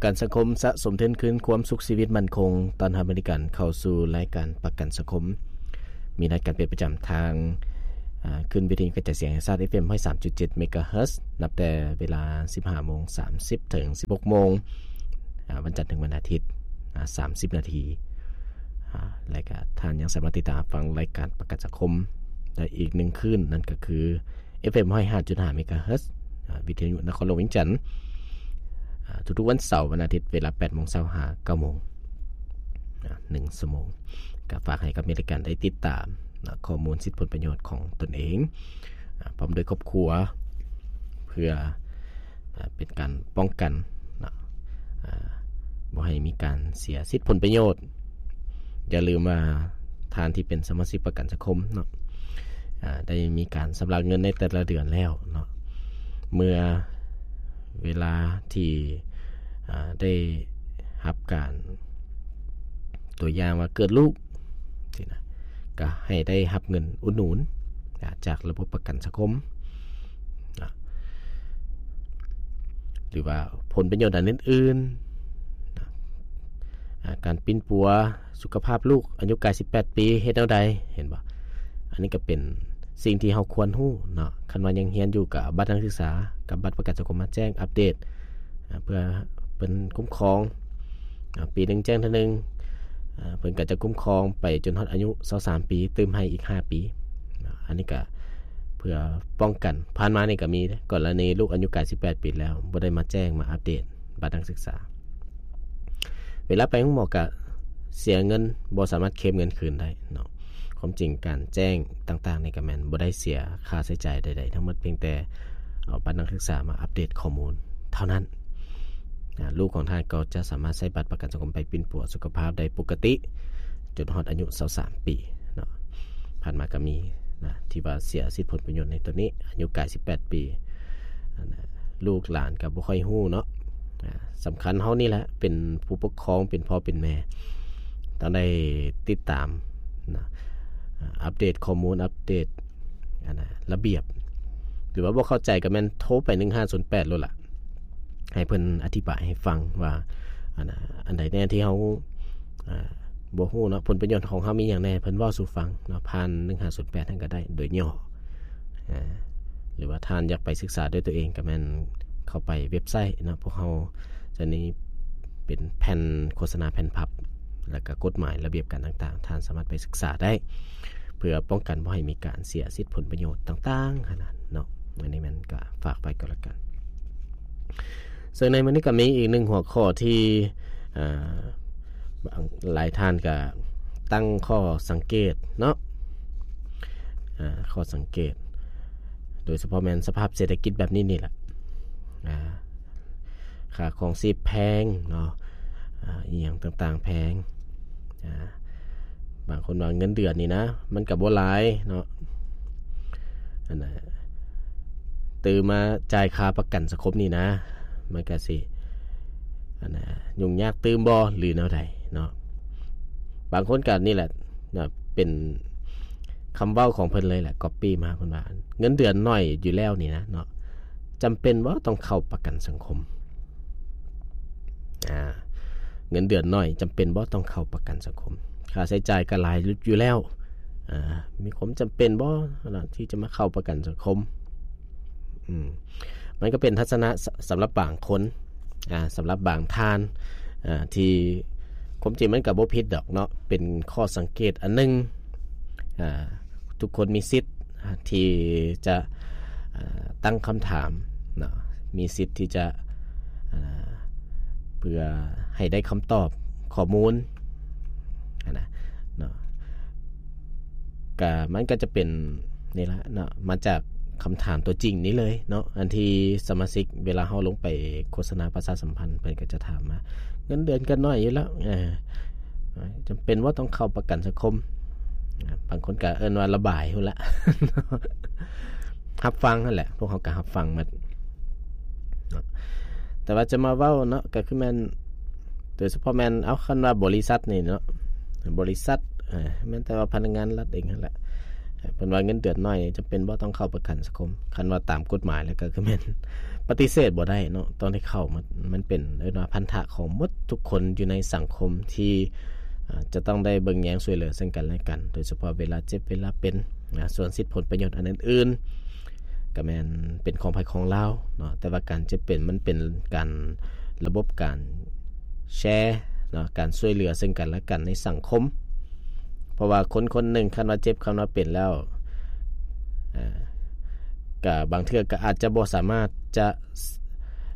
ກັນສັງຄົມ ສະສົມທຶນຄືນຄວາມສຸກຊີວິດໝັ້ນຄົງ. ຕ້ອນຮັບບໍລິການເຂົ້າສູ່ລາຍການປະກັນສັງຄົມ. ມີລາຍການເປັນປະຈຳທາງ ອາ ຄື້ນວິທະຍຸກະຈາຍສຽງແຫ່ງຊາດ ເອຟເອັມ ຮ້ອຍສາມຈຸດເຈັດ ເມກາເຮີດ ນັບແຕ່ເວລາ ສິບຫ້າໂມງສາມສິບ ເຖິງ ສິບຫົກໂມງ ອາ ວັນຈັນເຖິງວັນອາທິດ ອາ ສາມສິບນາທີ. ອາ ແລະກະທ່ານຍັງສາມາດຕິດຕາມຮັບຟັງລາຍການປະກັນສັງຄົມໄດ້ອີກໜຶ່ງຄື້ນ ນັ້ນກໍຄື ເອຟເອັມ ຮ້ອຍຫ້າຈຸດຫ້າ ເມກາເຮີດ ອາ ວິທະຍຸນະຄອນຫຼວງວຽງຈັນ ອາ ທຸກໆວັນເສົາ ວັນອາທິດ ເວລາ ແປດໂມງເຊົ້າ ຫາ ເກົ້າໂມງ ອາ ໜຶ່ງຊົ່ວໂມງ. ກໍຝາກໃຫ້ກັບເມກາເຮີດໄດ້ຕິດຕາມ ນະ ຂໍ້ມູນສິດຜົນປະໂຫຍດຂອງຕົນເອງ ອາ ພ້ອມດ້ວຍຄອບຄົວ ເພື່ອ ອາ ເປັນການປ້ອງກັນເນາະ ອາ ບໍ່ໃຫ້ມີການເສຍສິດຜົນປະໂຫຍດ. ຢ່າລືມວ່າທ່ານທີ່ເປັນສະມາຊິກປະກັນສັງຄົມເນາະ ອາ ໄດ້ມີການຊຳລະເງິນໃນແຕ່ລະເດືອນແລ້ວເນາະ ເມື່ອເວລາທີ່ ອາ ໄດ້ຮັບການ ຕົວຢ່າງວ່າເກີດລູກ ຊີ້ນະ ກໍໃຫ້ໄດ້ຮັບເງິນອຸດໜູນ ອາ ຈາກລະບົບປະກັນສັງຄົມນະ ຫຼືວ່າຜົນປະໂຫຍດອັນອື່ນໆນະ ອາ ການປິ່ນປົວສຸຂະພາບລູກອາຍຸກາຍສິບແປດປີ ເຮັດແນວໃດ ເຫັນບໍ່? ອັນນີ້ກໍເປັນສິ່ງທີ່ເຮົາຄວນຮູ້ເນາະ. ຄັນວ່າຍັງຮຽນຢູ່ ກໍເອົາບັດນັກສຶກສາກັບບັດປະກັນສັງຄົມມາແຈ້ງອັບເດດ ອາ ເພື່ອເພິ່ນຄຸ້ມຄອງ ອາ ປີໜຶ່ງແຈ້ງເທື່ອໜຶ່ງ ອາ ເພິ່ນກໍຈະຄຸ້ມຄອງໄປຈົນຮອດອາຍຸຊາວສາມປີ ຕື່ມໃຫ້ອີກຫ້າປີ. ອາ ອັນນີ້ກໍເພື່ອປ້ອງກັນ. ຜ່ານມານີ້ກໍມີເດ້ ກໍລະນີລູກອາຍຸກາຍສິບແປດປີແລ້ວ ບໍ່ໄດ້ມາແຈ້ງມາອັບເດດບັດນັກສຶກສາ ເວລາໄປໂຮງໝໍກໍເສຍເງິນ ບໍ່ສາມາດເຄລມເງິນຄືນໄດ້ເນາະ. ຄວາມຈິງການແຈ້ງຕ່າງໆນີ້ກໍແມ່ນບໍ່ໄດ້ເສຍຄ່າໃຊ້ຈ່າຍໃດໆທັງໝົດ ພຽງແຕ່ເອົາບັດນັກສຶກສາມາອັບເດດຂໍ້ມູນເທົ່ານັ້ນ. ອາ ລູກຂອງທ່ານກໍຈະສາມາດໃຊ້ບັດປະກັນສັງຄົມໄປປິ່ນປົວສຸຂະພາບໄດ້ປົກກະຕິ ຈົນຮອດອາຍຸຊາວສາມປີເນາະ. ຜ່ານມາກໍມີນະ ທີ່ວ່າເສຍສິດຜົນປະໂຫຍດໃນຕົວນີ້ ອາຍຸກາຍສິບແປດປີ ອັນນະ ລູກຫຼານກໍບໍ່ຄ່ອຍຮູ້ເນາະ. ອາ ສຳຄັນເຮົານີ້ແຫຼະ ເປັນຜູ້ປົກຄອງ ເປັນພໍ່ເປັນແມ່ ຕ້ອງໄດ້ຕິດຕາມນະ ອາ ອັບເດດຂໍ້ມູນ ອັບເດດ ອັນນະ ລະບຽບ ຫຼືວ່າບໍ່ເຂົ້າໃຈກໍແມ່ນໂທໄປໜຶ່ງຫ້າສູນແປດໂລດລະ ໃຫ້ເພິ່ນອະທິບາຍໃຫ້ຟັງວ່າ ອັນນະ ອັນໃດແດ່ທີ່ເຮົາ ອາ ບໍ່ຮູ້ເນາະ ຜົນປະໂຫຍດຂອງເຮົາມີຫຍັງແດ່ ເພິ່ນເວົ້າສູ່ຟັງເນາະ ຜ່ານໜຶ່ງຫ້າສູນແປດນັ້ນກໍໄດ້ ໂດຍຫຍໍ້ ອາ ຫຼືວ່າທ່ານຢາກໄປສຶກສາດ້ວຍຕົວເອງ ກໍແມ່ນເຂົ້າໄປເວັບໄຊເນາະ ພວກເຮົາຈະມີເປັນແຜ່ນໂຄສະນາແຜ່ນພັບ ແລ້ວກໍກົດໝາຍລະບຽບການຕ່າງໆ ທ່ານສາມາດໄປສຶກສາໄດ້ ເພື່ອປ້ອງກັນບໍ່ໃຫ້ມີການເສຍສິດຜົນປະໂຫຍດຕ່າງໆຫັ້ນນະເນາະ. ອັນນີ້ແມ່ນກໍຝາກໄວ້ກໍແລ້ວກັນ. ເຊິ່ງໃນມື້ນີ້ກໍມີອີກໜຶ່ງຫົວຂໍ້ທີ່ ເອີ ບາງ ຫຼາຍທ່ານກໍຕັ້ງຂໍ້ສັງເກດເນາະ ເອີ ຂໍ້ສັງເກດ ໂດຍສະເພາະແມ່ນສະພາບເສດຖະກິດແບບນີ້ນີ້ແຫຼະ ອາ ຄ່າຄອງຊີບແພງເນາະ ອາ ອີ່ຫຍັງຕ່າງໆແພງ ອາ ບາງຄົນວ່າເງິນເດືອນນີ້ນະ ມັນກໍບໍ່ຫຼາຍເນາະ ອັນນະ ຕື່ມມາຈ່າຍຄ່າປະກັນສັງຄົມນີ້ນະ ມັນກໍຊິ ອັນນະ ຫຍຸ້ງຍາກຕື່ມບໍ່ ຫຼືແນວໃດເນາະ. ບາງຄົນກໍນີ້ແຫຼະນະ ເປັນຄຳເວົ້າຂອງເພິ່ນເລີຍແຫຼະ ກັອບປີ້ມາ ເພິ່ນວ່າ ເງິນເດືອນໜ້ອຍຢູ່ແລ້ວນີ້ນະເນາະ ຈຳເປັນບໍ່ຕ້ອງເຂົ້າປະກັນສັງຄົມ? ອາ ເງິນເດືອນໜ້ອຍ ຈຳເປັນບໍ່ຕ້ອງເຂົ້າປະກັນສັງຄົມ? ຄ່າໃຊ້ຈ່າຍກໍຫຼາຍຢູ່ແລ້ວ ອາ ມີຄວາມຈຳເປັນບໍ່ທີ່ຈະມາເຂົ້າປະກັນສັງຄົມ? ອືມ ມັນກໍເປັນທັດສະນະ ສ- ສຳລັບບາງຄົນ ອາ ສຳລັບບາງທ່ານ ອາ ທີ່ ຄວາມຈິງມັນກໍບໍ່ຜິດດອກເນາະ ເປັນຂໍ້ສັງເກດອັນໜຶ່ງ ອາ ທຸກຄົນມີສິດ ອາ ທີ່ຈະ ອາ ຕັ້ງຄຳຖາມເນາະ ມີສິດທີ່ຈະ ອາ ເພື່ອໃຫ້ໄດ້ຄຳຕອບຂໍ້ມູນຫັ້ນນະເນາະ ກະ ມັນກໍຈະເປັນນີ້ລະເນາະ ມາຈາກຄຳຖາມຕົວຈິງນີ້ເລີຍເນາະ ອັນທີ່ສະມາຊິກເວລາເຮົາລົງໄປໂຄສະນາປະຊາສຳພັນ ເພິ່ນກໍຈະຖາມວ່າ ເງິນເດືອນກໍໜ້ອຍຢູ່ແລ້ວ ເອີ ຈຳເປັນບໍ່ຕ້ອງເຂົ້າປະກັນສັງຄົມ? ອາ ບາງຄົນກໍເອີ້ນວ່າລະບາຍພຸ້ນລະ ຮັບຟັງຫັ້ນແຫຼະ ພວກເຮົາກໍຮັບຟັງໝົດເນາະ ແຕ່ວ່າຈະມາເວົ້າເນາະ ກໍຄືແມ່ນ ໂດຍສະເພາະແມ່ນ ເອົາ ຄັນວ່າບໍລິສັດນີ້ເນາະ ບໍລິສັດ ເອີ ແມ່ນແຕ່ວ່າພະນັກງານລັດເອງຫັ້ນແຫຼະ ເພິ່ນວ່າເງິນເດືອນໜ້ອຍຈຳເປັນບໍ່ຕ້ອງເຂົ້າປະກັນສັງຄົມ. ຄັນວ່າຕາມກົດໝາຍແລ້ວກໍຄືແມ່ນປະຕິເສດບໍ່ໄດ້ເນາະ, ຕ້ອງໄດ້ເຂົ້າ. ມັນ ມັນເປັນ ເອີ້ນວ່າພັນທະຂອງໝົດທຸກຄົນຢູ່ໃນສັງຄົມທີ່ ອາ ຈະຕ້ອງໄດ້ເບິ່ງແຍງຊ່ວຍເຫຼືອເຊິ່ງກັນແລະກັນ, ໂດຍສະເພາະເວລາເຈັບເວລາເປັນ. ອາ ສ່ວນສິດຜົນປະໂຫຍດອັນອື່ນໆ ກໍແມ່ນເປັນຂອງໃຜຂອງລາວເນາະ, ແຕ່ວ່າການເຈັບເປັນມັນເປັນການ ລະບົບການແຊເນາະ, ການຊ່ວຍເຫຼືອເຊິ່ງກັນແລະກັນໃນສັງຄົມ. ເພາະວ່າຄົນຄົນໜຶ່ງຄັນວ່າເຈັບ ຄັນວ່າເປັນແລ້ວ ອາ ກະບາງເທື່ອກໍອາດຈະບໍ່ສາມາດຈະ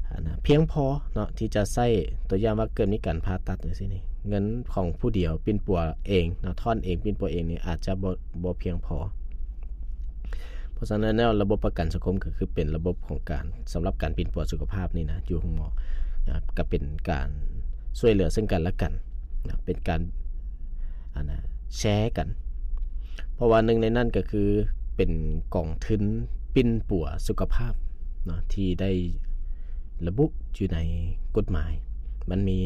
ອາ ພຽງພໍເນາະ ທີ່ຈະໃຊ້ ຕົວຢ່າງວ່າເກີດມີການຜ່າຕັດຈັ່ງຊີ້ນີ້ ເງິນຂອງຜູ້ດຽວປິ່ນປົວເອງເນາະ, ທ້ອນເອງ ປິ່ນປົວເອງນີ້ອາດຈະບໍ່ ບໍ່ພຽງພໍ. ເພາະສະນັ້ນແລ້ວ ລະບົບປະກັນສັງຄົມກໍຄືເປັນລະບົບຂອງການ ສຳລັບການປິ່ນປົວສຸຂະພາບນີ້ນະ ຢູ່ໂຮງໝໍ ອາ ກໍເປັນການຊ່ວຍເຫຼືອເຊິ່ງກັນແລະກັນນະ, ເປັນການ ອັນນະ ແຊກັນ. ເພາະວ່າໜຶ່ງໃນນັ້ນກໍຄືເປັນກອງທຶນປິ່ນປົວສຸຂະພາບເນາະ ທີ່ໄດ້ລະບຸຢູ່ໃນກົດໝາຍ. ມັນມີ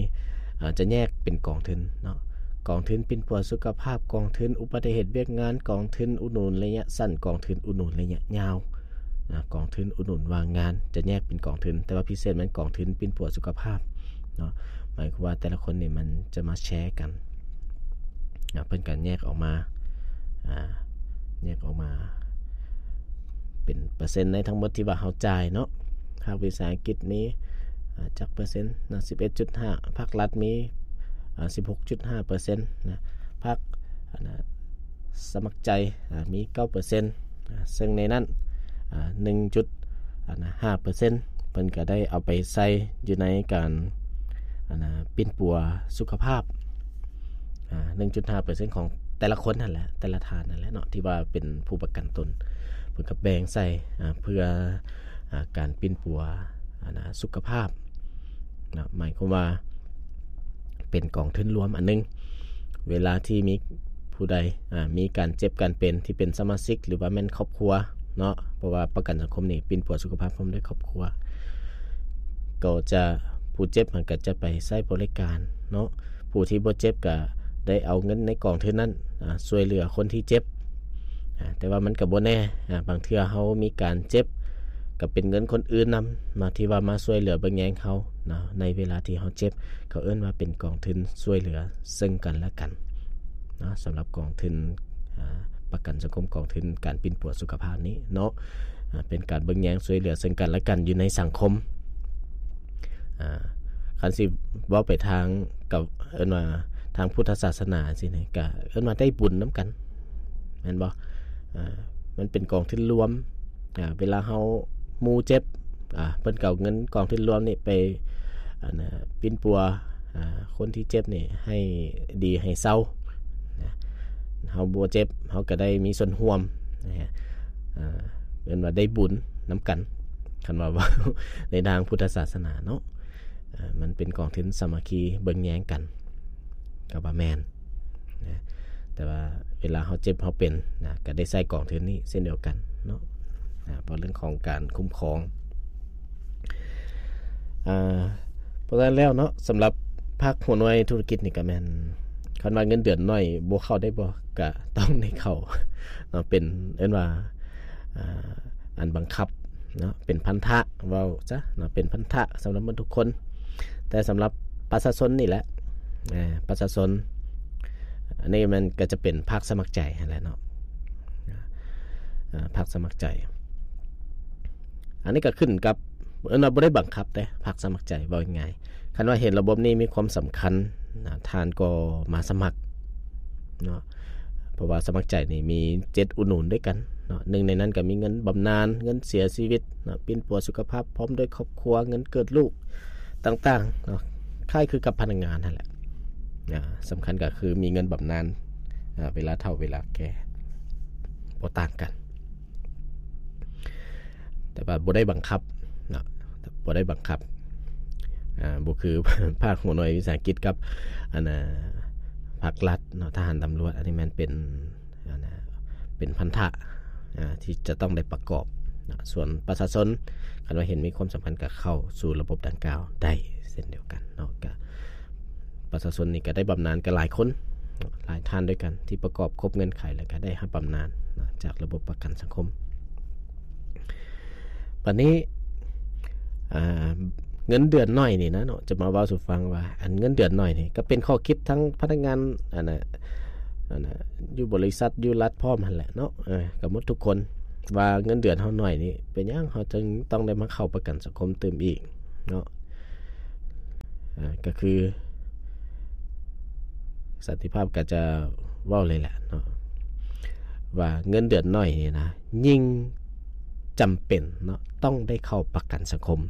ອາ ຈະແຍກເປັນກອງທຶນເນາະ, ກອງທຶນປິ່ນປົວສຸຂະພາບ, ກອງທຶນອຸບັດຕິເຫດວຽກງານ, ກອງທຶນອຸດໜູນໄລຍະສັ້ນ, ກອງທຶນອຸດໜູນໄລຍະຍາວນະ, ກອງທຶນອຸດໜູນວ່າງງານ ຈະແຍກເປັນກອງທຶນ, ແຕ່ວ່າພິເສດແມ່ນກອງທຶນປິ່ນປົວສຸຂະພາບເນາະ. ໝາຍຄວາມວ່າແຕ່ລະຄົນນີ້ມັນຈະມາແຊກັນນະ, ເພິ່ນກໍແຍກອອກມາ ອາ ແຍກອອກມາເປັນເປີເຊັນໃນທັງໝົດທີ່ວ່າເຮົາຈ່າຍເນາະ. ພາກວິສາຫະກິດມີ ອາ ຈັກເປີເຊັນເນາະ ສິບເອັດຈຸດຫ້າ, ພາກລັດມີ ອາ ສິບຫົກຈຸດຫ້າເປີເຊັນນະ, ພາກ ອັນນະ ສະໝັກໃຈ ອາ ມີເກົ້າເປີເຊັນນະ, ເຊິ່ງໃນນັ້ນ ອາ ໜຶ່ງຈຸດຫ້າເປີເຊັນ ເພິ່ນກໍໄດ້ເອົາໄປໃຊ້ຢູ່ໃນການ ອັນນະ ປິ່ນປົວສຸຂະພາບ ອາ ໜຶ່ງຈຸດຫ້າເປີເຊັນຂອງແຕ່ລະຄົນຫັ້ນແຫຼະ ແຕ່ລະທ່ານນັ້ນແຫຼະເນາະ ທີ່ວ່າເປັນຜູ້ປະກັນຕົນ ເພິ່ນກໍແບ່ງໃສ່ ອາ ເພື່ອ ອາ ການປິ່ນປົວ ອັນນະ ສຸຂະພາບເນາະ. ໝາຍຄວາມວ່າເປັນກອງທຶນລວມອັນໜຶ່ງ ເວລາທີ່ມີຜູ້ໃດ ອາ ມີການເຈັບການເປັນທີ່ເປັນສະມາຊິກ ຫຼືວ່າແມ່ນຄອບຄົວເນາະ, ເພາະວ່າປະກັນສັງຄົມນີ້ປິ່ນປົວສຸຂະພາບພ້ອມດ້ວຍຄອບຄົວ ກໍຈະ ຜູ້ເຈັບຫັ້ນກໍຈະໄປໃຊ້ບໍລິການເນາະ, ຜູ້ທີ່ບໍ່ເຈັບກໍໄດ້ເອົາເງິນໃນກອງທຶນນັ້ນ ອາ ຊ່ວຍເຫຼືອຄົນທີ່ເຈັບ. ອາ ແຕ່ວ່າມັນກໍບໍ່ແນ່ ອາ ບາງເທື່ອເຮົາມີການເຈັບ ກໍເປັນເງິນຄົນອື່ນນຳເນາະ ທີ່ວ່າມາຊ່ວຍເຫຼືອເບິ່ງແຍງເຮົາເນາະ ໃນເວລາທີ່ເຮົາເຈັບ. ເຂົາເອີ້ນວ່າເປັນກອງທຶນຊ່ວຍເຫຼືອເຊິ່ງກັນແລະກັນເນາະ, ສຳລັບກອງທຶນ ອາ ປະກັນສັງຄົມ ກອງທຶນການປິ່ນປົວສຸຂະພາບນີ້ເນາະ ອາ ເປັນການເບິ່ງແຍງຊ່ວຍເຫຼືອເຊິ່ງກັນແລະກັນຢູ່ໃນສັງຄົມ. ອາ ຄັນຊິເວົ້າໄປທາງ ກໍເອີ້ນວ່າທາງພຸດທະສາສະໜາຊີ້ນີ້ ກໍເອີ້ນວ່າໄດ້ບຸນນຳກັນ ແມ່ນບໍ່? ອາ ມັນເປັນກອງທຶນລວມ ອາ ເວລາເຮົາໝູ່ເຈັບ ອາ ເພິ່ນກໍເອົາເງິນກອງທຶນລວມນີ້ໄປ ອັນນະ ປິ່ນປົວ ອາ ຄົນທີ່ເຈັບນີ້ໃຫ້ດີໃຫ້ເຊົານະ, ເຮົາບໍ່ເຈັບ ເຮົາກໍໄດ້ມີສ່ວນຮ່ວມນະ ອາ ເອີ້ນວ່າໄດ້ບຸນນຳກັນ ຄັນວ່າເວົ້າໃນທາງພຸດທະສາສະໜາເນາະ. ອາ ມັນເປັນກອງທຶນສາມັກຄີເບິ່ງແຍງກັນ ກໍວ່າແມ່ນນະ, ແຕ່ວ່າເວລາເຮົາເຈັບເຮົາເປັນນະ ກໍໄດ້ໃຊ້ກອງທຶນນີ້ເຊັ່ນດຽວກັນເນາະ. ອາ ເວົ້າເລື່ອງຂອງການຄຸ້ມຄອງ ອາ ເພາະສະນັ້ນແລ້ວເນາະ ສຳລັບພາກຫົວໜ່ວຍທຸລະກິດນີ້ກໍແມ່ນ ຄັນວ່າເງິນເດືອນໜ້ອຍບໍ່ເຂົ້າໄດ້ບໍ່? ກະຕ້ອງໄດ້ເຂົ້າເນາະ, ເປັນ ເອີ້ນວ່າ ອາ ອັນບັງຄັບເນາະ, ເປັນພັນທະ ເວົ້າຊະເນາະ, ເປັນພັນທະສຳລັບໝົດທຸກຄົນ. ແຕ່ສຳລັບປະຊາຊົນນີ້ແຫຼະ ອາ ປະຊາຊົນ ອັນນີ້ມັນກໍຈະເປັນພາກສະໝັກໃຈຫັ້ນແຫຼະເນາະ, ອາ ພາກສະໝັກໃຈ. ອັນນີ້ກໍຂຶ້ນກັບ ເອີ້ນວ່າບໍ່ໄດ້ບັງຄັບເດ້ ພາກສະໝັກໃຈ ເວົ້າງ່າຍໆ. ຄັນວ່າເຫັນລະບົບນີ້ມີຄວາມສຳຄັນນະ ທ່ານກໍມາສະໝັກເນາະ, ເພາະວ່າສະໝັກໃຈນີ້ມີເຈັດອຸດໜູນດ້ວຍກັນເນາະ. ໜຶ່ງໃນນັ້ນກໍມີເງິນບຳນານ, ເງິນເສຍຊີວິດເນາະ, ປິ່ນປົວສຸຂະພາບພ້ອມດ້ວຍຄອບຄົວ, ເງິນເກີດລູກຕ່າງໆເນາະ, ຄ້າຍຄືກັບພະນັກງານຫັ້ນແຫຼະ. ອາ ສຳຄັນກໍຄືມີເງິນບຳນານ ອາ ເວລາເຖົ້າເວລາແກ່ ບໍ່ຕ່າງກັນ. ແຕ່ວ່າບໍ່ໄດ້ບັງຄັບເນາະ, ບໍ່ໄດ້ບັງຄັບ ອາ ບໍ່ຄືພາກຫົວໜ່ວຍວິສາຫະກິດກັບ ອັນນະ ພາກລັດເນາະ, ທະຫານ, ຕຳຫຼວດ. ອັນນີ້ແມ່ນເປັນ ອັນນະ ເປັນພັນທະ ອາ ທີ່ຈະຕ້ອງໄດ້ປະກອບເນາະ. ສ່ວນປະຊາຊົນ ຄັນວ່າເຫັນມີຄວາມສຳຄັນ ກໍເຂົ້າສູ່ລະບົບດັ່ງກ່າວໄດ້ເຊັ່ນດຽວກັນເນາະ. ກະ ປະຊາຊົນນີ້ກໍໄດ້ບຳນານກັນຫຼາຍຄົນ ຫຼາຍທ່ານດ້ວຍກັນ ທີ່ປະກອບຄົບເງື່ອນໄຂ ແລ້ວກໍໄດ້ຮັບບຳນານເນາະ ຈາກລະບົບປະກັນສັງຄົມ. ບັດນີ້ ອ່າ ເງິນເດືອນໜ້ອຍນີ້ນະເນາະ ຈະມາເວົ້າສູ່ຟັງວ່າ ອັນເງິນເດືອນໜ້ອຍນີ້ ກໍເປັນຂໍ້ຄິດທັງພະນັກງານ ອັນນ່າ ອັນນ່າ ຢູ່ບໍລິສັດ ຢູ່ລັດພ້ອມຫັ້ນແຫຼະເນາະ ເອີ ກໍໝົດທຸກຄົນ ວ່າເງິນເດືອນເຮົາໜ້ອຍນີ້ ເປັນຫຍັງເຮົາຈຶ່ງຕ້ອງໄດ້ມາເຂົ້າປະກັນສັງຄົມຕື່ມອີກເນາະ. ອ່າ ກໍຄື ສັນຕິພາບກໍຈະເວົ້າເລີຍແຫຼະເນາະ ວ່າເງິນເດືອນໜ້ອຍນີ້ນະ ຍິ່ງຈຳເປັນເນາະ ຕ້ອງໄດ້ເຂົ້າປະກັນສັງຄົມ.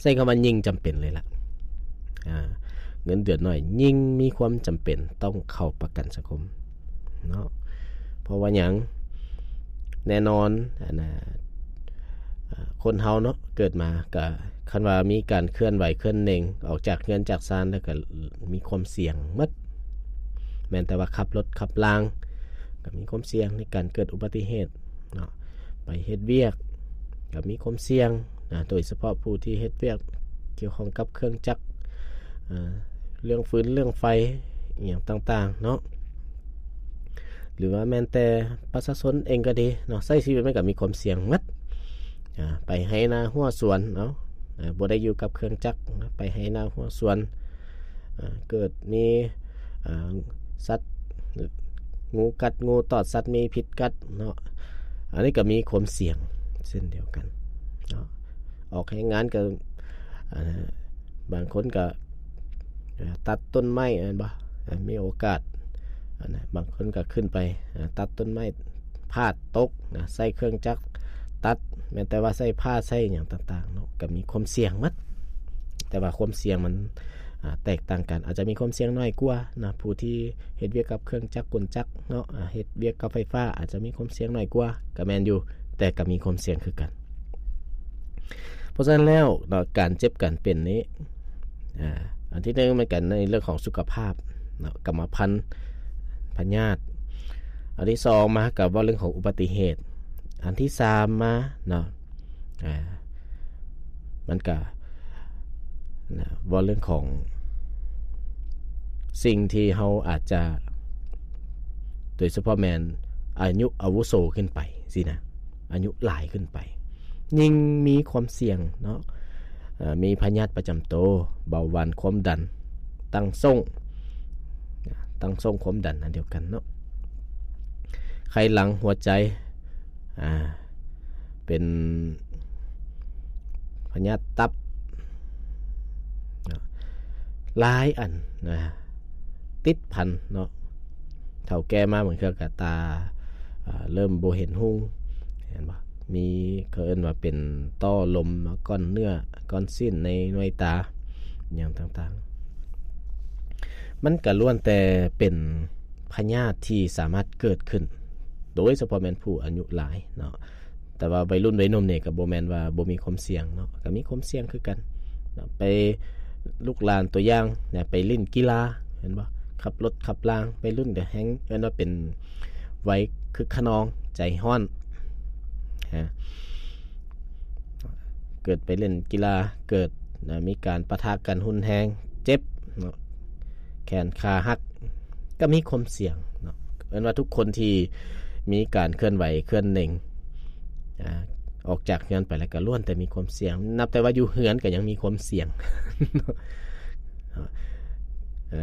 ໃຊ້ຄຳວ່າຍິ່ງຈຳເປັນເລີຍລະ ອ່າ ເງິນເດືອນໜ້ອຍຍິ່ງມີຄວາມຈຳເປັນຕ້ອງເຂົ້າປະກັນສັງຄົມເນາະ. ເພາະວ່າຫຍັງ? ແນ່ນອນ ອັນນ່າ ອ່າ ຄົນເຮົາເນາະ ເກີດມາກະ ຄັນວ່າມີການເຄື່ອນໄຫວເຄື່ອນເໜັງ ອອກຈາກເຮືອນຈາກຊານແລ້ວ ກະມີຄວາມສ່ຽງໝົດ. ແມ່ນແຕ່ວ່າຂັບລົດຂັບລາງ ກະມີຄວາມສ່ຽງໃນການເກີດອຸບັດຕິເຫດເນາະ, ໄປເຮັດວຽກກະມີຄວາມສ່ຽງນະ, ໂດຍສະເພາະຜູ້ທີ່ເຮັດວຽກກ່ຽວຂ້ອງກັບເຄື່ອງຈັກ ເອີ ເລື່ອງຟືນເລື່ອງໄຟ ອີ່ຫຍັງຕ່າງໆເນາະ. ຫຼືວ່າແມ່ນແຕ່ປະຊາຊົນເອງກໍດີເນາະ, ໃຊ້ຊີວິດມັນກໍມີຄວາມສ່ຽງໝົດ. ອາ ໄປໄຮ່ນາຮົ້ວສວນເນາະ, ອາ ບໍ່ໄດ້ຢູ່ກັບເຄື່ອງຈັກ, ໄປໄຮ່ນາຮົ້ວສວນ, ອາ ເກີດມີ ອາ ສັດ ງ- ງູກັດ, ງູຕອດ, ສັດມີພິດກັດເນາະ, ອັນນີ້ກໍມີຄວາມສ່ຽງເຊັ່ນດຽວກັນເນາະ. ອອກແຮງງານກໍ ອາ ບາງຄົນກໍ ອາ ຕັດຕົ້ນໄມ້ແມ່ນບໍ່? ອາ ມີໂອກາດ ອາ ນະ ບາງຄົນກໍຂຶ້ນໄປ ອາ ຕັດຕົ້ນໄມ້ ພາດຕົກນະ ໃຊ້ເຄື່ອງຈັກຕັດ ແມ່ນແຕ່ວ່າໃຊ້ພ້າໃຊ້ຫຍັງຕ່າງໆເນາະ ກໍມີຄວາມສ່ຽງໝົດ. ແຕ່ວ່າຄວາມສ່ຽງມັນ ອາ ແຕກຕ່າງກັນ, ອາດຈະມີຄວາມສ່ຽງໜ້ອຍກວ່ານະ ຜູ້ທີ່ເຮັດວຽກກັບເຄື່ອງຈັກກົນຈັກເນາະ, ອາ ເຮັດວຽກກັບໄຟຟ້າອາດຈະມີຄວາມສ່ຽງໜ້ອຍກວ່າ ກໍແມ່ນຢູ່ ແຕ່ກໍມີຄວາມສ່ຽງຄືກັນ. ເພາະສະນັ້ນແລ້ວເນາະ ການເຈັບການເປັນນີ້ ອາ ອັນທີໜຶ່ງ ມັນກໍໃນເລື່ອງຂອງສຸຂະພາບເນາະ, ກຳມະພັນ ພະຍາດ. ອັນທີສອງມາກໍເວົ້າເລື່ອງຂອງອຸບັດຕິເຫດ. ອັນທີສາມມາເນາະ ອາ ມັນກະນະ ເວົ້າເລື່ອງຂອງສິ່ງທີ່ເຮົາອາດຈະ ໂດຍສະເພາະແມ່ນອາຍຸອາວຸໂສຂຶ້ນໄປຊີ້ນະ, ອາຍຸຫຼາຍຂຶ້ນໄປ ຍິ່ງມີຄວາມສ່ຽງເນາະ, ເອີ ມີພະຍາດປະຈຳໂຕ, ເບົາຫວານ, ຄວາມດັນ, ຕັ້ງໂສ້ງ, ຕັ້ງໂສ້ງຄວາມດັນອັນດຽວກັນເນາະ, ໄຂ້ຫຼັງ, ຫົວໃຈ, ອາ ເປັນພະຍາດຕັບເນາະ, ຫຼາຍອັນນະ ຕິດພັນເນາະ. ເຖົ້າແກ່ມາບາງເທື່ອກໍຕາ ອາ ເລີ່ມບໍ່ເຫັນຮຸ່ງ ເຫັນບໍ່? ມີ ເຂົາເອີ້ນວ່າເປັນຕໍ່ລົມ, ກ້ອນເນື້ອ, ກ້ອນຊີ້ນໃນໜ່ວຍຕາ ຫຍັງຕ່າງໆ ມັນກໍລ້ວນແຕ່ເປັນພະຍາດທີ່ສາມາດເກີດຂຶ້ນ ໂດຍສະເພາະແມ່ນຜູ້ອາຍຸຫຼາຍເນາະ. ແຕ່ວ່າໄວລຸ້ນໄວໜຸ່ມນີ້ກໍບໍ່ແມ່ນວ່າບໍ່ມີຄວາມສ່ຽງເນາະ, ກໍມີຄວາມສ່ຽງຄືກັນເນາະ. ໄປ ລູກຫຼານຕົວຢ່າງນະ ໄປຫຼິ້ນກິລາ ເຫັນບໍ່? ຂັບລົດຂັບລາງ ໄວລຸ້ນກໍແຮ່ງເອີ້ນວ່າເປັນໄວຄຶກຂະນອງ ໃຈຮ້ອນ ເກີດໄປເລ່ນກິລາ ເກີດນະ ມີການປະທະກັນຮຸນແຮງ ເຈັບເນາະ ແຂນຂາຫັກ ກໍມີຄວາມສ່ຽງເນາະ. ເອີ້ນວ່າທຸກຄົນທີ່ມີການເຄື່ອນໄຫວເຄື່ອນເໜັງ ອາ ອອກຈາກເຮືອນໄປແລ້ວກໍລ້ວນແຕ່ມີຄວາມສ່ຽງ. ນັບແຕ່ວ່າຢູ່ເຮືອນກໍຍັງມີຄວາມສ່ຽງ ເອີ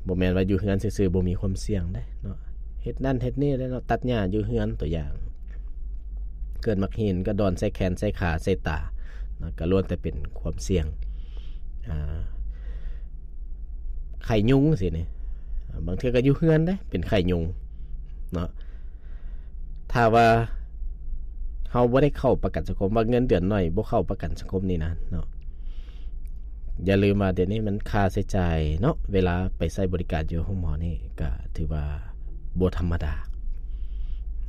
ບໍ່ແມ່ນວ່າຢູ່ເຮືອນຊື່ໆບໍ່ມີຄວາມສ່ຽງເດ້ເນາະ. ເຮັດນັ້ນເຮັດນີ້ເດ້ເນາະ, ຕັດຫຍ້າຢູ່ເຮືອນຕົວຢ່າງ, ເກີດໝາກຫີນກໍດອນໃສ່ແຂນໃສ່ຂາໃສ່ຕາເນາະ, ກໍລ້ວນແຕ່ເປັນຄວາມສ່ຽງ. ອາ ໄຂ້ຍຸງຊີ້ນີ້ ບາງເທື່ອກໍຢູ່ເຮືອນເດ້ ເປັນໄຂ້ຍຸງເນາະ. ຖ້າວ່າເຮົາບໍ່ໄດ້ເຂົ້າປະກັນສັງຄົມ ວ່າເງິນເດືອນໜ້ອຍ ບໍ່ເຂົ້າປະກັນສັງຄົມນີ້ນະເນາະ, ຢ່າລືມວ່າດຽວນີ້ມັນຄ່າໃຊ້ຈ່າຍເນາະ ເວລາໄປໃຊ້ບໍລິການຢູ່ໂຮງໝໍນີ້ ກໍຖືວ່າບໍ່ທຳມະດາ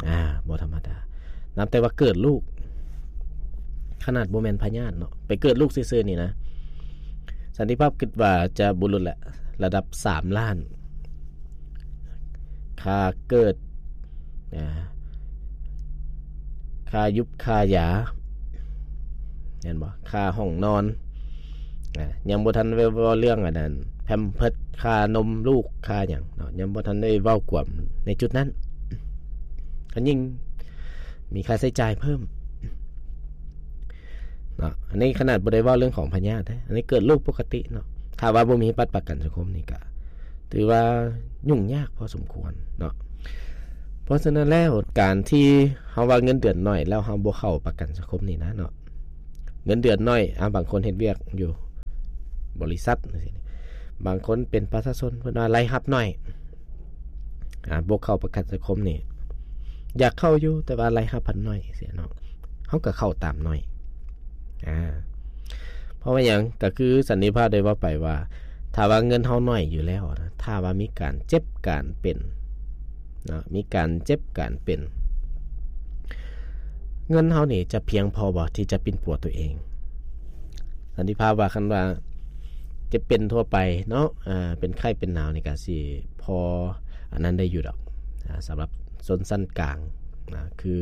ອາ ບໍ່ທຳມະດາ. ນັບແຕ່ວ່າເກີດລູກ ຂະໜາດບໍ່ແມ່ນພະຍາດເນາະ ໄປເກີດລູກຊື່ໆນີ້ນະ ສັນຕິພາບຄິດວ່າຈະບໍ່ຫຼຸດລະ ລະດັບສາມລ້ານ ຄ່າເກີດ ອາ ຄ່າຢຸບຄ່າຢາ ແມ່ນບໍ່? ຄ່າຫ້ອງນອນ ອາ ຍັງບໍ່ທັນໄດ້ເວົ້າເລື່ອງອັນນັ້ນ ແພມເພີດ ຄ່ານົມລູກ ຄ່າຫຍັງເນາະ ຍັງບໍ່ທັນໄດ້ເວົ້າກວມໃນຈຸດນັ້ນ ກໍຍິ່ງມີຄ່າໃຊ້ຈ່າຍເພີ່ມເນາະ. ອັນນີ້ຂະໜາດບໍ່ໄດ້ເວົ້າເລື່ອງຂອງພະຍາດເດ້ ອັນນີ້ເກີດລູກປົກກະຕິເນາະ. ຖ້າວ່າບໍ່ມີບັດປະກັນສັງຄົມນີ້ ກໍຖືວ່າຫຍຸ້ງຍາກພໍສົມຄວນເນາະ. ເພາະສະນັ້ນແລ້ວ ການທີ່ເຮົາວ່າເງິນເດືອນໜ້ອຍ ແລ້ວເຮົາບໍ່ເຂົ້າປະກັນສັງຄົມນີ້ນະເນາະ ເງິນເດືອນໜ້ອຍ ອາ ບາງຄົນເຮັດວຽກຢູ່ບໍລິສັດ ບາງຄົນເປັນປະຊາຊົນ ເພິ່ນວ່າລາຍຮັບໜ້ອຍ ອາ ບໍ່ເຂົ້າປະກັນສັງຄົມນີ້ ຢາກເຂົ້າຢູ່ ແຕ່ວ່າລາຍຮັບພັນໜ້ອຍ ເນາະ ເຮົາກໍເຂົ້າຕາມໜ້ອຍ ອາ ເພາະວ່າຫຍັງ? ກໍຄືສັນຕິພາບໄດ້ເວົ້າໄປວ່າ ຖ້າວ່າເງິນເຮົາໜ້ອຍຢູ່ແລ້ວນະ ຖ້າວ່າມີການເຈັບການເປັນເນາະ ມີການເຈັບການເປັນ ເງິນເຮົານີ້ຈະພຽງພໍບໍ່ທີ່ຈະປິ່ນປົວຕົວເອງ? ສັນຕິພາບວ່າ ຄັນວ່າເຈັບເປັນທົ່ວໄປເນາະ ອາ ເປັນໄຂ້ເປັນໜາວນີ້ ກໍຊິພໍອັນນັ້ນໄດ້ຢູ່ດອກ ອາ ສຳລັບຊົນຊັ້ນກາງນະ ຄື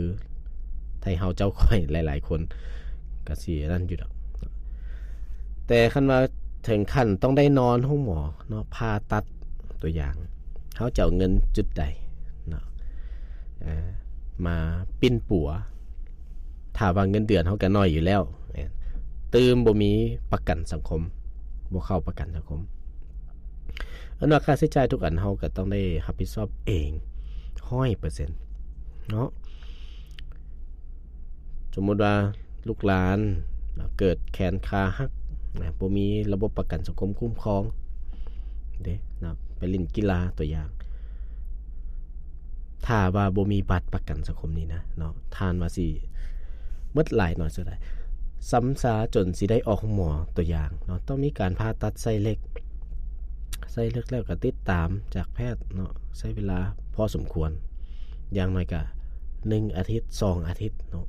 ໄທເຮົາເຈົ້າຂ້ອຍຫຼາຍໆຄົນ ກໍຊິອັນນັ້ນຢູ່ດອກ. ແຕ່ຄັນວ່າເຖິງຂັ້ນຕ້ອງໄດ້ນອນໂຮງໝໍເນາະ ຜ່າຕັດຕົວຢ່າງ ເຮົາຈະເອົາເງິນຈຸດໃດເນາະ ເອີ ມາປິ່ນປົວ? ຖ້າວ່າເງິນເດືອນເຮົາກໍໜ້ອຍຢູ່ແລ້ວ ແມ່ນ ຕື່ມບໍ່ມີປະກັນສັງຄົມ ບໍ່ເຂົ້າປະກັນສັງຄົມ ອັນວ່າຄ່າໃຊ້ຈ່າຍທຸກອັນເຮົາກໍຕ້ອງໄດ້ຮັບຜິດຊອບເອງຮ້ອຍເປີເຊັນເນາະ. ສົມມຸດວ່າລູກຫຼານເກີດແຂນຂາຫັກນະ ບໍ່ມີລະບົບປະກັນສັງຄົມຄຸ້ມຄອງເດ້ນະ ໄປຫຼິ້ນກິລາຕົວຢ່າງ ຖ້າວ່າບໍ່ມີບັດປະກັນສັງຄົມນີ້ນະເນາະ ທ່ານວ່າຊິໝົດຫຼາຍໜ້ອຍສ່ວນໃດ ຊຳຊາຈົນຊິໄດ້ອອກໂຮງໝໍຕົວຢ່າງເນາະ ຕ້ອງມີການຜ່າຕັດໃສ່ເຫຼັກ ໃສ່ເຫຼັກແລ້ວກໍຕິດຕາມຈາກແພດເນາະ ໃຊ້ເວລາພໍສົມຄວນ ຢ່າງໜ້ອຍກໍໜຶ່ງອາທິດ ສອງອາທິດເນາະ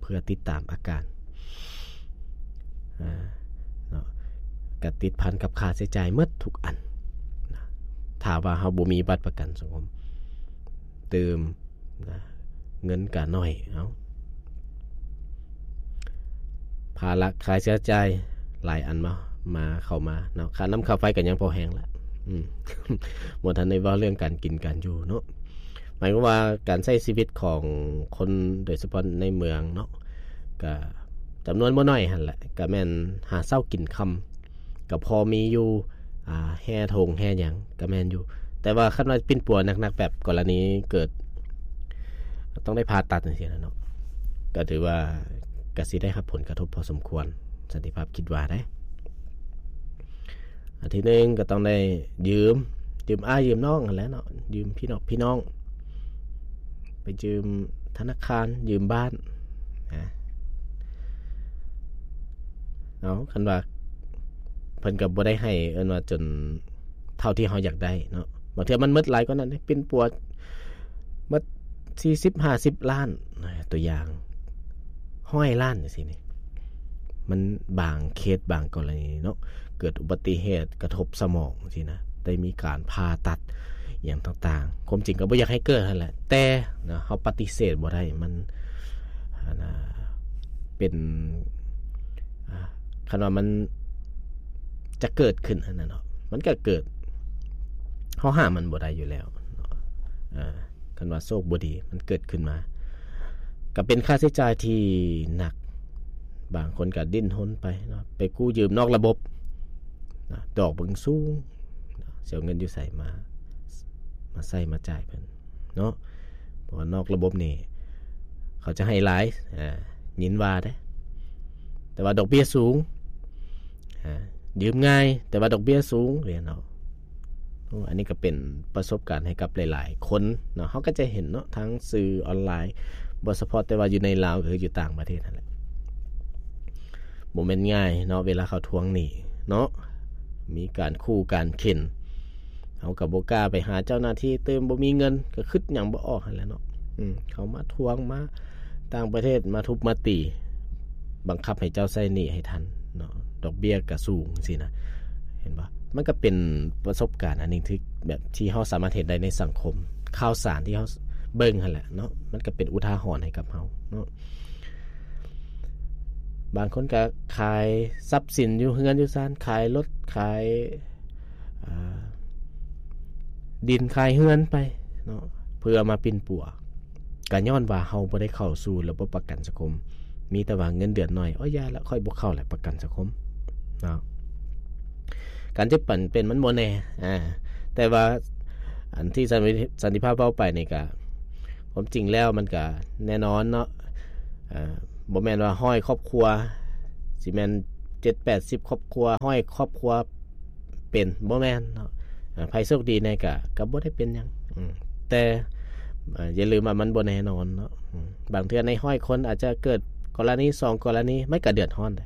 ເພື່ອຕິດຕາມອາການ ອາ ເນາະ ກະຕິດພັນກັບຄ່າໃຊ້ຈ່າຍໝົດທຸກອັນນະ ຖ້າວ່າເຮົາບໍ່ມີບັດປະກັນສັງຄົມ ຕື່ມນະ ເງິນກະໜ້ອຍ ເອົ້າ ພາລະຄ່າໃຊ້ຈ່າຍຫຼາຍອັນມາ ມາ ເຂົ້າມາເນາະ ຄ່ານ້ຳຄ່າໄຟກໍຍັງພໍແຮງລະ ອືມ ບໍ່ທັນໄດ້ເວົ້າເລື່ອງການກິນການຢູ່ເນາະ. ໝາຍຄວາມວ່າການໃຊ້ຊີວິດຂອງຄົນ ໂດຍສະເພາະໃນເມືອງເນາະ ກະຈຳນວນບໍ່ໜ້ອຍຫັ້ນແຫຼະ ກະແມ່ນຫາເຊົ້າກິນຄ່ຳ ກະພໍມີຢູ່ ອາ ແຮ່ຖົງແຮ່ຫຍັງກະແມ່ນຢູ່ ແຕ່ວ່າຄັນວ່າປິ່ນປົວໜັກໆ ແບບກໍລະນີເກີດຕ້ອງໄດ້ຜ່າຕັດຈັ່ງຊີ້ນະເນາະ ກະຖືວ່າກະຊິໄດ້ຮັບຜົນກະທົບພໍສົມຄວນ ສັນຕິພາບຄິດວ່າເດ້. ອັນທີໜຶ່ງກໍຕ້ອງໄດ້ຢືມ ຢືມອ້າຍຢືມນ້ອງຫັ້ນແຫຼະເນາະ ຢືມພີ່ນ້ອງ ພີ່ນ້ອງ ໄປຢືມທະນາຄານ ຢືມບ້ານ ນະ ເອົາ ຄັນວ່າເພິ່ນກໍບໍ່ໄດ້ໃຫ້ ເອີ້ນວ່າຈົນເທົ່າທີ່ເຮົາຢາກໄດ້ເນາະ ບາງເທື່ອມັນໝົດຫຼາຍກວ່ານັ້ນເດ້ ປິ່ນປົວໝົດສີ່ສິບ ຫ້າສິບລ້ານ ຕົວຢ່າງ ຮ້ອຍລ້ານຈັ່ງຊີ້ນີ້ ມັນບາງເຄສບາງກໍລະນີເນາະ ເກີດອຸບັດຕິເຫດກະທົບສະໝອງຊີ້ນະ ໄດ້ມີການຜ່າຕັດຫຍັງຕ່າງໆ ຄວາມຈິງກໍບໍ່ຢາກໃຫ້ເກີດຫັ້ນແຫຼະ ແຕ່ນະ ເຮົາປະຕິເສດບໍ່ໄດ້ ມັນ ອັນນະ ເປັນ ອາ ຄັນວ່າມັນຈະເກີດຂຶ້ນຫັ້ນນະເນາະ ມັນກໍເກີດ ເຮົາຫ້າມມັນບໍ່ໄດ້ຢູ່ແລ້ວເນາະ ອາ ຄັນວ່າໂຊກບໍ່ດີມັນເກີດຂຶ້ນມາ ກໍເປັນຄ່າໃຊ້ຈ່າຍທີ່ໜັກ ບາງຄົນກໍດີ້ນຮົນໄປເນາະ ໄປກູ້ຢືມນອກລະບົບນະ ດອກມັນສູງ ເນາະ ຊິເອົາເງິນຢູ່ໃສມາ ມາໃຊ້ມາຈ່າຍເພິ່ນເນາະ ເພາະວ່ານອກລະບົບນີ້ເຂົາຈະໃຫ້ຫຼາຍ ອາ ຍິນວ່າເດ້ ແຕ່ວ່າດອກເບ້ຍສູງ ອາ ຢືມງ່າຍ ແຕ່ວ່າດອກເບ້ຍສູງເດ້ເນາະ. ໂອ້ ອັນນີ້ກໍເປັນປະສົບການໃຫ້ກັບຫຼາຍໆຄົນເນາະ ເຮົາກໍຈະເຫັນເນາະ ທາງສື່ອອນລາຍ ບໍ່ສະເພາະແຕ່ວ່າຢູ່ໃນລາວ ກໍຄືຢູ່ຕ່າງປະເທດຫັ້ນແຫຼະ ບໍ່ແມ່ນງ່າຍເນາະ ເວລາເຂົາທວງໜີ້ເນາະ ມີການຂູ່ການເຂັນ ເຮົາກໍບໍ່ກ້າໄປຫາເຈົ້າໜ້າທີ່ ຕື່ມບໍ່ມີເງິນ ກໍຄິດຫຍັງບໍ່ອອກຫັ້ນແຫຼະເນາະ ອືມ ເຂົາມາທວງ ມາຕ່າງປະເທດ ມາທຸບມາຕີ ບັງຄັບໃຫ້ເຈົ້າໃຊ້ໜີ້ໃຫ້ທັນເນາະ ດອກເບ້ຍກໍສູງຊີ້ນະ ເຫັນບໍ່? ມັນກໍເປັນປະສົບການອັນໜຶ່ງທີ່ແບບທີ່ເຮົາສາມາດເຫັນໄດ້ໃນສັງຄົມ ຂ່າວສານທີ່ເຮົາເບິ່ງຫັ້ນແຫຼະເນາະ ມັນກໍເປັນອຸທາຫອນໃຫ້ກັບເຮົາເນາະ. ບາງຄົນກໍຂາຍຊັບສິນຢູ່ເຮືອນຢູ່ຊານ ຂາຍລົດ ຂາຍ ດິນຂາຍເຮືອນໄປເນາະ ເພື່ອມາປິ່ນປົວ ກໍຍ້ອນວ່າເຮົາບໍ່ໄດ້ເຂົ້າສູ່ລະບົບປະກັນສັງຄົມ ມີແຕ່ວ່າເງິນເດືອນໜ້ອຍ ໂອ້ຍ ຢ່າລະ ຂ້ອຍບໍ່ເຂົ້າແຫຼະປະກັນສັງຄົມເນາະ. ການເຈັບການເປັນມັນບໍ່ແນ່ ອາ ແຕ່ວ່າອັນທີ່ສັນຕິພາບເວົ້າໄປນີ້ກະ ຄວາມຈິງແລ້ວມັນກະແນ່ນອນເນາະ ອາ ບໍ່ແມ່ນວ່າຮ້ອຍຄອບຄົວ ຊິແມ່ນເຈັດແປດສິບຄອບຄົວ ຮ້ອຍຄອບຄົວເປັນ ບໍ່ແມ່ນເນາະ. ອາ ໃຜໂຊກດີແດ່ກະ ກະບໍ່ໄດ້ເປັນຫຍັງ ອືມ ແຕ່ ອາ ຢ່າລືມວ່າມັນບໍ່ແນ່ນອນເນາະ ອືມ ບາງເທື່ອໃນຮ້ອຍຄົນອາດຈະເກີດກໍລະນີສອງກໍລະນີ ມັນກະເດືອດຮ້ອນໄດ໋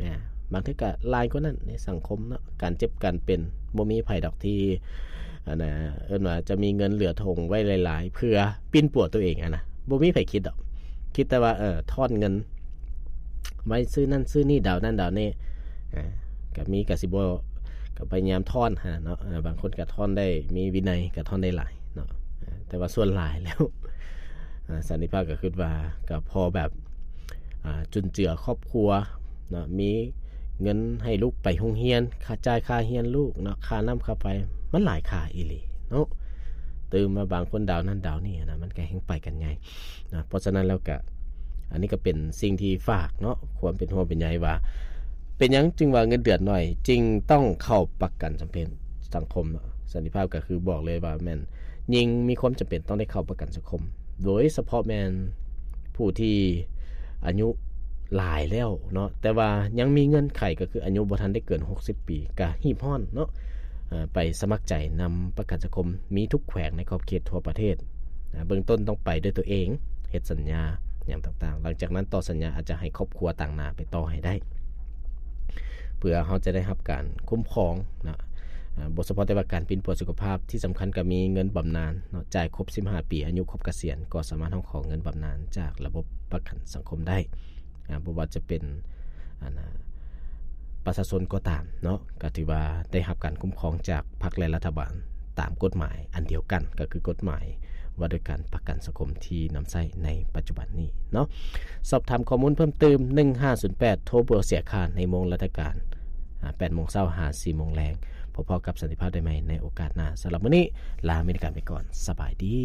ອາ ບາງເທື່ອກະຫຼາຍກວ່ານັ້ນໃນສັງຄົມເນາະ. ການເຈັບການເປັນ ບໍ່ມີໃຜດອກທີ່ ອັນນ່າ ເອີ້ນວ່າຈະມີເງິນເຫຼືອຖົງໄວ້ຫຼາຍໆ ເພື່ອປິ່ນປົວຕົວເອງຫັ້ນນະ ບໍ່ມີໃຜຄິດດອກ ຄິດແຕ່ວ່າ ເອີ ທ້ອນເງິນໄວ້ຊື້ນັ້ນຊື້ນີ້ ດາວນັ້ນດາວນີ້ ອາ ກະມີກະຊິບໍ່ ກະພະຍາຍາມທ້ອນຫັ້ນນະເນາະ. ອາ ບາງຄົນກະທ້ອນໄດ້ມີວິໄນ ກະທ້ອນໄດ້ຫຼາຍເນາະ ອາ ແຕ່ວ່າສ່ວນຫຼາຍແລ້ວ ອາ ສັນຕິພາບກະຄິດວ່າ ກະພໍແບບ ອາ ຈຸນເຈືອຄອບຄົວເນາະ ມີເງິນໃຫ້ລູກໄປໂຮງຮຽນ ຄ່າຈ່າຍຄ່າຮຽນລູກເນາະ ຄ່ານ້ຳຄ່າໄຟ ມັນຫຼາຍຄ່າອີ່ຫຼີເນາະ. ຕື່ມມາບາງຄົນດາວນັ້ນດາວນີ້ນະ ມັນກະແຮ່ງໄປກັນໃຫຍ່ນະ. ເພາະສະນັ້ນແລ້ວກະ ອັນນີ້ກະເປັນສິ່ງທີ່ຝາກເນາະ ຄວາມເປັນຫ່ວງເປັນໃຍວ່າ ເປັນຫຍັງຈຶ່ງວ່າເງິນເດືອນໜ້ອຍ ຈຶ່ງຕ້ອງເຂົ້າປະກັນສັງເພ- ສັງຄົມເນາະ. ສັນຕິພາບກະຄືບອກເລີຍວ່າແມ່ນ ຍິ່ງມີຄວາມຈຳເປັນຕ້ອງໄດ້ເຂົ້າປະກັນສັງຄົມ ໂດຍສະເພາະແມ່ນຜູ້ທີ່ອາຍຸຫຼາຍແລ້ວເນາະ ແຕ່ວ່າຍັງມີເງື່ອນໄຂ ກໍຄືອາຍຸບໍ່ທັນໄດ້ເກີນຫົກສິບປີ ກະຮີບຮ້ອນເນາະ ເອີ ໄປສະໝັກໃຈນຳປະກັນສັງຄົມ ມີທຸກແຂວງໃນຂອບເຂດທົ່ວປະເທດ. ອາ ເບື້ອງຕົ້ນຕ້ອງໄປດ້ວຍຕົວເອງ ເຮັດສັນຍາຫຍັງຕ່າງໆ ຫຼັງຈາກນັ້ນຕໍ່ສັນຍາອາດຈະໃຫ້ຄອບຄົວຕາງໜ້າໄປຕໍ່ໃຫ້ໄດ້ ເພື່ອເຮົາຈະໄດ້ຮັບການຄຸ້ມຄອງເນາະ. ອາ ບໍ່ສະເພາະແຕ່ວ່າການປິ່ນປົວສຸຂະພາບ ທີ່ສຳຄັນກໍມີເງິນບຳນານເນາະ ຈ່າຍຄົບສິບຫ້າປີ ອາຍຸຄົບກະສຽນ ກໍສາມາດຮ້ອງຂໍເງິນບຳນານຈາກລະບົບປະກັນສັງຄົມໄດ້. ອາ ບໍ່ວ່າຈະເປັນ ອັນນ່າ ປະຊາຊົນກໍຕາມເນາະ ກໍຖືວ່າໄດ້ຮັບການຄຸ້ມຄອງຈາກພັກ ແລະ ລັດຖະບານຕາມກົດໝາຍອັນດຽວກັນ ກໍຄືກົດໝາຍວ່າດ້ວຍການປະກັນສັງຄົມທີ່ນຳໃຊ້ໃນປັດຈຸບັນນີ້ເນາະ. ສອບຖາມຂໍ້ມູນເພີ່ມຕື່ມ ໜຶ່ງຫ້າສູນແປດ ໂທບໍ່ເສຍຄ່າໃນໂມງລາຊະການ ອາ ແປດໂມງເຊົ້າຫາສີ່ໂມງແລງ. ພໍ້ກັບສັນຕິພາບໄດ້ໃໝ່ໃນໂອກາດໜ້າ. ສຳລັບມື້ນີ້ ລາເມລິກາໄປກ່ອນ. ສະບາຍດີ.